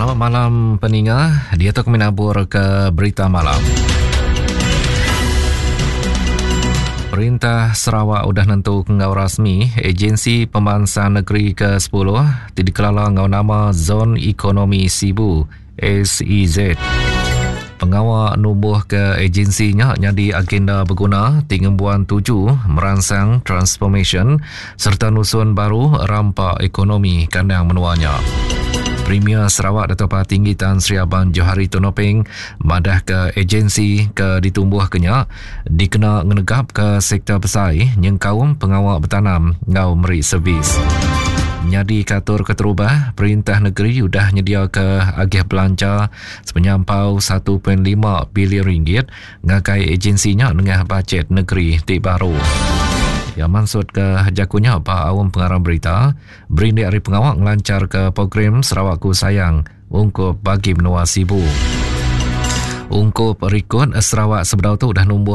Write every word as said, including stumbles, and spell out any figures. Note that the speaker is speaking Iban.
Selamat malam peninga, diatu kami nabur ke berita malam. Perintah Sarawak udah nentu ke enggau rasmi Agensi Pemansang Negeri ke sepuluh ti dikelala enggau nama Zon Ekonomi Sibu S E Z. Pengawa numbuh ke agensi nya nyadi agenda beguna ti ngembuan tuju meransang transformasyen serta nusun baru rampa ekonomi kandang menua nya. Premier Sarawak Dato' Patinggi Tan Sri Abang Johari Tun Openg madah ke agensi ke ditumbuh ke nya dikena ngenegap ke sektor besai nyengkaum pengawa betanam enggau meri servis. Nyadi katur keterubah, perintah negeri udah nyediaka agih belanja sepenyampau satu perpuluhan lima bilion ringgit ngagai agensi nya nengah bajet negeri ti baru. Ya maksud ke jakunya ba awam pengarang berita berindik ari pengawa ngelancar ke program Sarawakku Sayang ungkup bagi menua Sibu. Ungkup rekod Sarawak sebedau tu dah numbuh